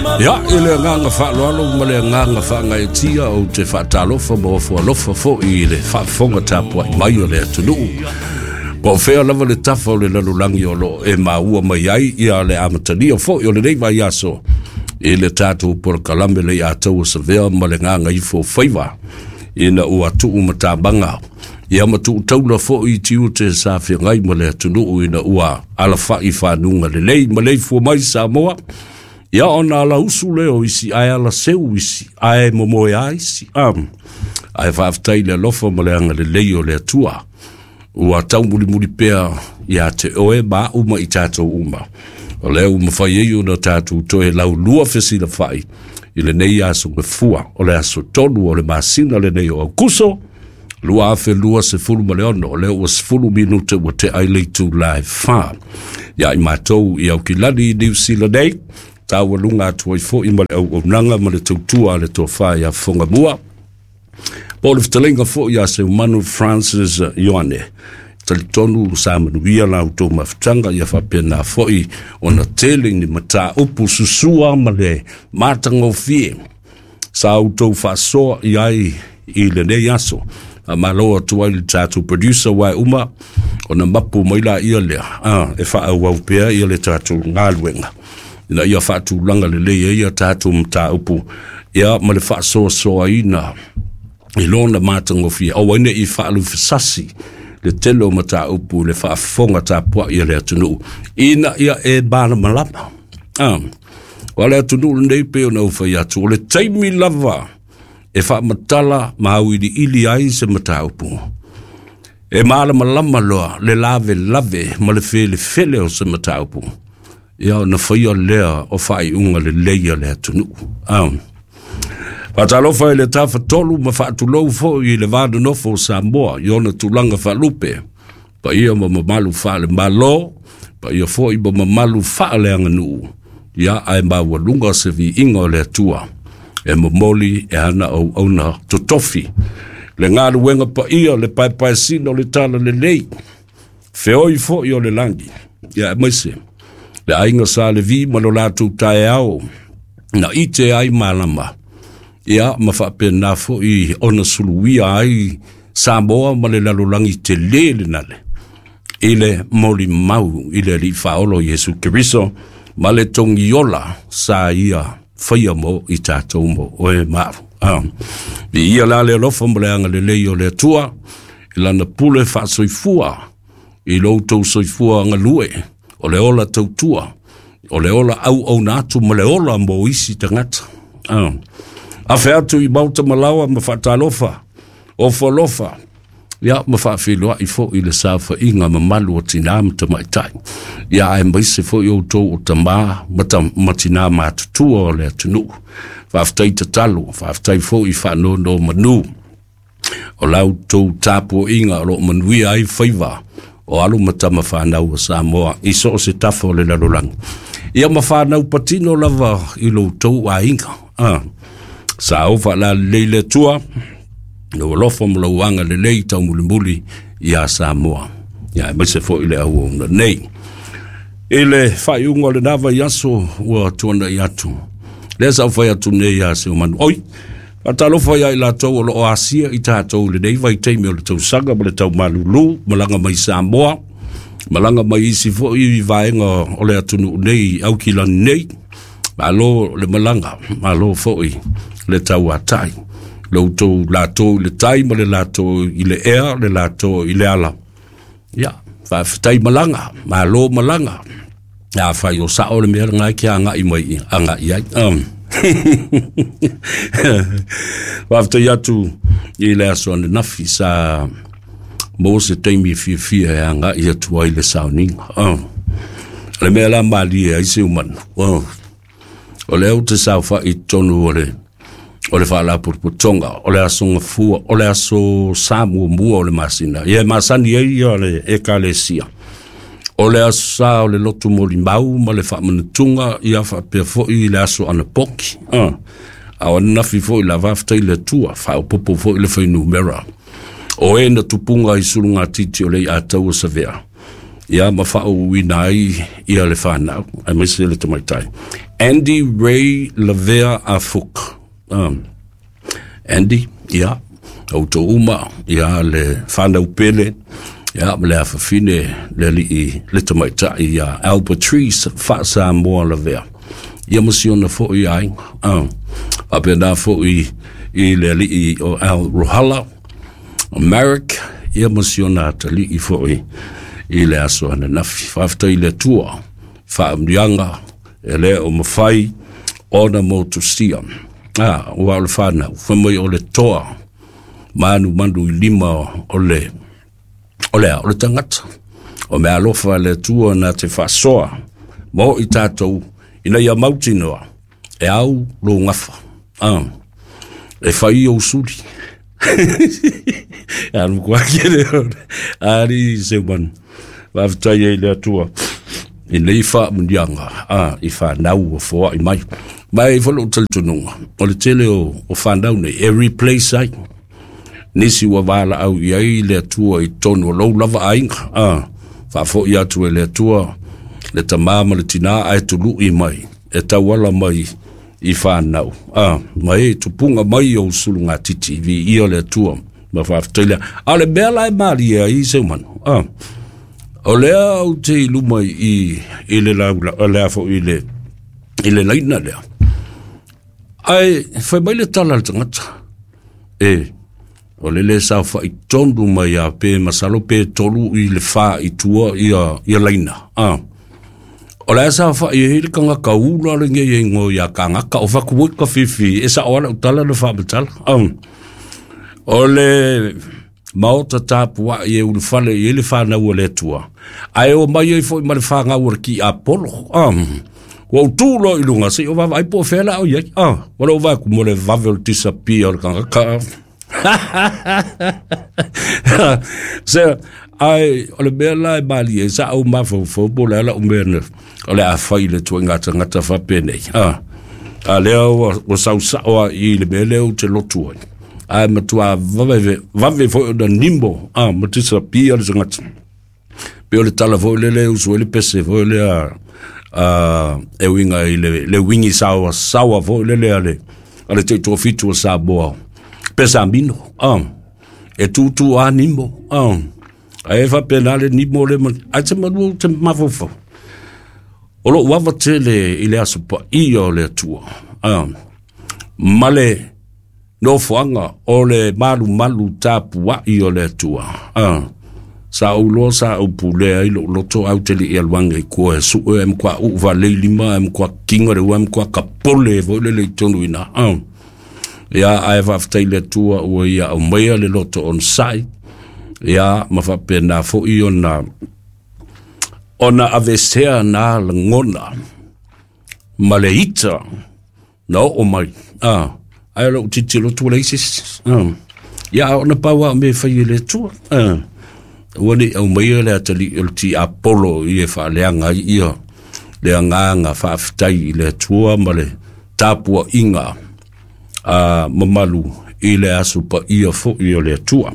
Ia, i le agaga faaaloalo ma le agaga faagaeetia, ou te faatalofa ma ofo alofa foi i le faafofoga tapuai mai o le atunuu. Po o fea lava le tafa o le lalolagi o lo o e maua mai ai ia le amatalia foi o lenei vaiaso i le tatou polokalame le Ataua Savea ma le Gagaifo Faiva, ina ua tuu matamaga ia ma tuu taula foi i tiute sa feagai ma le atunuu ina ua alafai fanuga lelei ma leifua mai Samoa. Ia ona ala usu lea o isi, ae ala seu isi, ae momoe a isi. Ae faafetai le alofa ma le agalelei o le Atua ua taumulimuli pea ia te oe ma au ma i tatou uma. O lea ua mafai ai ona tatou toe laulua fesilafai i lenei aso gafua, o le aso 3 o le masina lenei o Aukuso 2026. O lea ua 10 minute ua tea i le itula e 4. Ia i matou i Aukilani i Niu Sila nei, taualuga atu ai foi ma le auaunaga ma le tautua a le tofa ia Fogamua. Po o le fetalaiga foi ia Seumanu Francis Ioane. Talitonu sa manuia la outou mafutaga, ia faapena foi ona tele ni mataupu susua ma le matagofie sa outou faasoa i ai i lenei aso. Malo atu ai le tatou producer wa uma ona mapu mai la ia lea e faaauau pea ia le tatou galuega ina ia faatulaga lelei ai ia tatou mataupu ia ma le faasoasoaina i lona matagofie, aua ne i faalufesasi le tele o mataupu le faafofoga tapuai a le atunuu ina ia e malamalama. O le atunuu lenei pei ona ou fai atu, o le taimi lava e faamatala ma auiliili ai se mataupu, e malamalama loa le lavelave ma le felefele o se mataupu, ia ona faia lea o faaiuga lelei a le atunuu. Faatalofa i le tafatolu ma faatulou foi i le va nonofo o Samoa i ona tulaga faalupe, paia ma mamalu faale-Malo, paia foi ma mamalu faaleaganuu, ia ae maualuga se viiga o le Atua e momoli e ana auauna totofi. Le galuega paia, le paepaesina o le tala lelei, feoi foi o le lagi, ia aemaise le aiga sa Levi ma lo latou taeao na ite ai malama, ia ma faapena foi ona suluia ai Samoa ma le lalolagi tele lenale i le molimau i le Alii Faaolo Iesu Keriso ma le togiola sa ia faia mo i tatou mo oe ma au. Viia la le alofa ma le agalelei o le Atua i lana pule faasoifua i lo outou soifua galue, o le ola tautua, o le ola auauna atu ma le ola mo isi tagata. Afe atu i Maota Malawa ma faatalofa, ofo alofa, ia ma faafeiloai foi le saofaiga mamalu o tinā ma tamaitai. Ia aemaise foi outou o tamā ma tinā matutua o le atunuu. Faafetai tatalo, faafetai foi faanono manu o la outou tapuaiga o lo o manuia ai faiva o alo ma tama whanau o Samoa i so o se tafa o le lalolagi. Ia ma whanau patino lava i lo tou aiga. Sa o whaalalelei le Atua, lo alofa ma lau agalelei taumulimuli ia Samoa. Ia aemaise foi le auauna nei. I le faaiuga o lena vaiaso ua tuanai atu, lea sa ou fai atu nei ia Seumanu. Oi, faatalofa ia i latou o lo o asia i tatou i lenei vaitaimi o le tausaga ma le taumalulu, malaga mai Samoa, malaga mai isi foi vaega o le atunuu nei, Aukilani nei. Malo le malaga, malo foi le tauatai. Le outou latou i le tai ma le latou i le ea, le latou i le ala. Ia, faafetai malaga, malo malaga. A fai o sao le mea lena ke agai mai agai ai. Faafetai atu i le aso ananafi sa maua se taimi e fiafia e agai atu ai le sauniga. Le mea la malie ai se umanu. O lea ou te saofai i totonu o le faalapotopotoga, o le aso gafua, o le aso sa muamua o le masina. Ia e masani ai ia le ekalesia. O le aso sa o le lotu molimau ma le faamanatuga, ia faapea foi le aso anapoki. A o ananafi foi la faafetai le Atua, faaopoopo foi le fuainumera o e na tupuga i sulugatiti o le Ataua Savea, ia ma faauuina ai ia le whanau, aemaise le tamaitai. Andy Ray Lavea Afuk. Andy, ia, outou uma, ia, le whanau pele, ia, ma le afafine, le alii, le tamaitai, ia, Albertrice Faasamoa Lavea. Ia ma si ona foi aiga. Faapena foi i le alii o Al Rohala, Marek, ia ma si ona atalii foi i le aso ananafi. Faafetai i le Atua, faamanuiaga e le o mafai ona motusia. Ua o le whanau, fai mai o le toa, manumanu i lima o le o le o le tagata. O mea alofa le Atua na te faasoa mo i tātou ina ia mautinoa e au lou gafa. E fai ou suli. Alu kua kere ari se man. Faafetai ai le Atua i nei faamanuiaga i whanau o foai mai. Mai foi lou talitonuga, o le tele o whanau nei, e replace ai. Nisi ua valaau i ai le Atua i tonu o lou lava aiga. Faafoi atu e le Atua, le tamā ma le tinā ae tului mai, e tauala mai i whanau. Ma e tupunga mai o usulu ngā titi, vi ia le Atua, ma faafetai lea. A o le mea la e malie ai se manu. O lea au te i luma i le laula, o lea foi i le laina lea. Ai, fai mai le tala le tagata. E, o le le sao fai tonu mai a pe masalo pe tolu i le wha i tua ia laina. O le sa fai e le kanga ula le nge e ngo ia kanga ka o faku ka fifi e sa ola utala le fa betala. O le maota tapua i e ulufale i le whanau o le Atua. Ae o mai ai foi ma le whangau o le ki Apollo. Ua utu loa i luga, se o vava ai po whela o iai. Wala o vai ku mo le vave o le disappear o le kanga ka. Se, ai, o le mea la e mali e sa au mawhau po le ala o mea na, o le a whai le tua ngata ngata whapenei. A lea ua sau sao i le mea leo te lotu ai. Ai matua vave foi o na nimbo, ma disappear le tangata. Pe o le tala foi le le usu le pese foi le a e winga i le wingi sawa sawa foi le le ale te tofitu o Samoa. Pesa mino, e tutu a nimbo, Ai fa pena le nimbo le man, ai te manu te mafofo. O lo wawa tele i le aso pa ia o le Atua. Ma le nofoanga o le malu malu tapu i o le Atua. Sa ulo sa upulea i lo loto au te li i alwanga i kua e sue em kwa uwa le lima em kwa kinga le em kwa kapole vo le le tonu ina. Ia ai faafetai le Atua ua ia aumaia le loto on sai. Ia ma faapena foi ona avesea na lagona ma le ita na oo mai. Ai lou titilo atu le isi. Ia ona pau a me fai e le Atua. Ua nei aumaia le atalii o le ti Apollo i e faaleaga ai ia le agaga faafetai i le Atua ma le tapuaiga a mamalu i le aso paia foi o le Atua.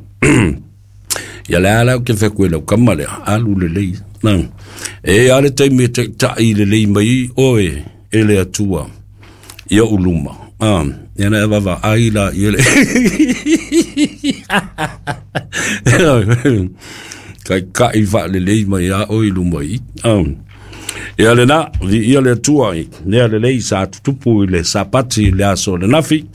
Ia le ala o ke wheku e lau kama lea, alu le lei. E ale taimi e taitai le lei mai oe e le Atua ia uluma. Ia na e vava ai la i le. Kai kai wa le lei mai a oi luma i. Ia le na, vi ia le Atua i, nea le lei sa tutupu i le sapati i le aso le nafi.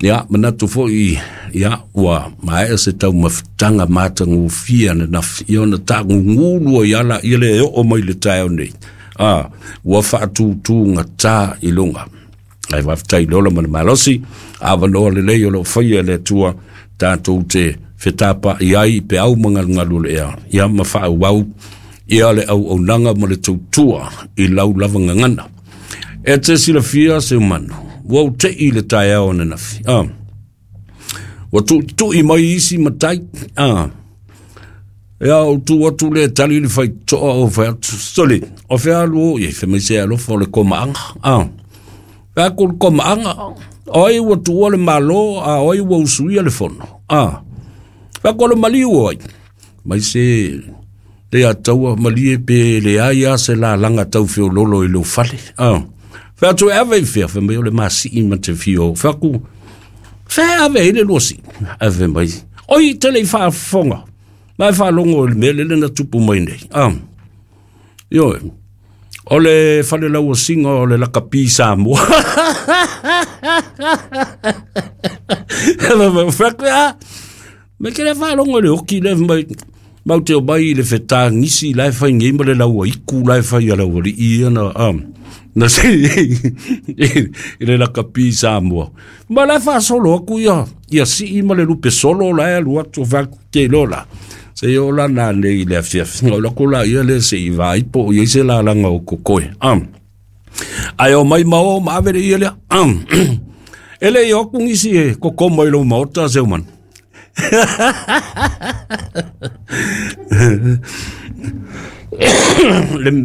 Ia, manatu foi, ia, ua maea se tau mafutaga matagofie ananafi. Ia ona tagugulu ai ala ia le oo mai le taeao nei. Ua faatūtūgatā i luga. Ai faafetai le ola ma le malosi, avanoa lelei o loo faia e le Atua tatou te fetapa'i ai pe au magalugalu o le ea. Ia ma faaauau ia le auaunaga ma le tautua i lau lava gagana. E te silafia se manu, ua ou te'i le taeao ananafi. Ua tu'itu'i mai isi matai. Ia ou tu atu le tali le faitoa o fai atu. Sole, o fea alu o i, fai mai se alofa o le komaaga. Fea ku le komaaga, o ai ua tuua le malo, a o ai ua usuia le fono. Fea ku le maliu o ai. Mai se le ataua malie pe le ai a se la langa tau feololo i lou fale. Fai atu e ave i fea, fai mai o le masii ma te fia o. Fai atu, fea ave ai le lua sii? Ae fai mai, oi te le i faafofoga. Ma e faalogo i le mea lele na tupu mai nei. Ah. Ioe. O le falelauasiga o le lakapi Samoa. Fai Me ke le faalogo i le oki le mai mau te o mai i le fetagisi la e fai nei ma le laua iku la e fai a le aualii ia na na se i le lakapi Samoa. Ma la e faasolo atu ia ia sii ma le lupe solo la e alu atu fai atu te iloa la. Se i oo la nanei i le afiafi, o lako la ia le se i vaai po o i ai se lalaga o kokoe. Ae o mai ma o ma ave le ia lea. E le i o atu nisi e koko mai lou maota Seuman. Le